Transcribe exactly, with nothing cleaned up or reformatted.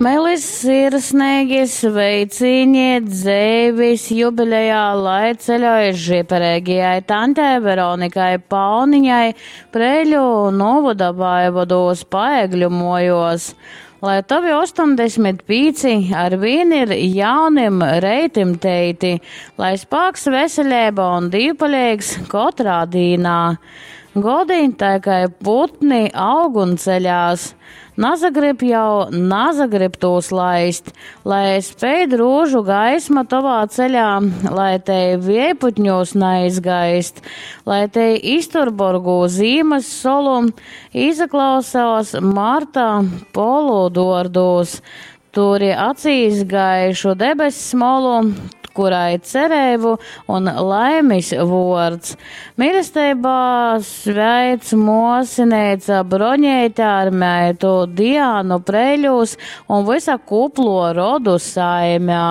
Meili sirsneigi sveicīni dzeivis jubilejā, lai ceļoj žipereigajai tantei Veronikai Pauniņai Preiļu nūvoda Vaivodūs Paegļu muojuos. Lai tovi ostoņdesmit pīci arvīn ir jaunim reitim teiti, lai spāks, veseleiba un dīvpaleigs kotrā dīnā. Godi, tai kai putni, aug un ceļās. Nasagrib jau, nasagrib tūs laist, lai speid rūžu gaisma tovā ceļā, lai te viejputņos naizgaist, lai te iztur borgū zīmas solu, izaklausās marta polu dordūs, turi acīs gaišu debess molu, kurai cerēbu un laimis vords. Mīlestībā sveic muosineica Broņeite ar meitu Diānu Preiļūs un vysa kuplo rodu saimē.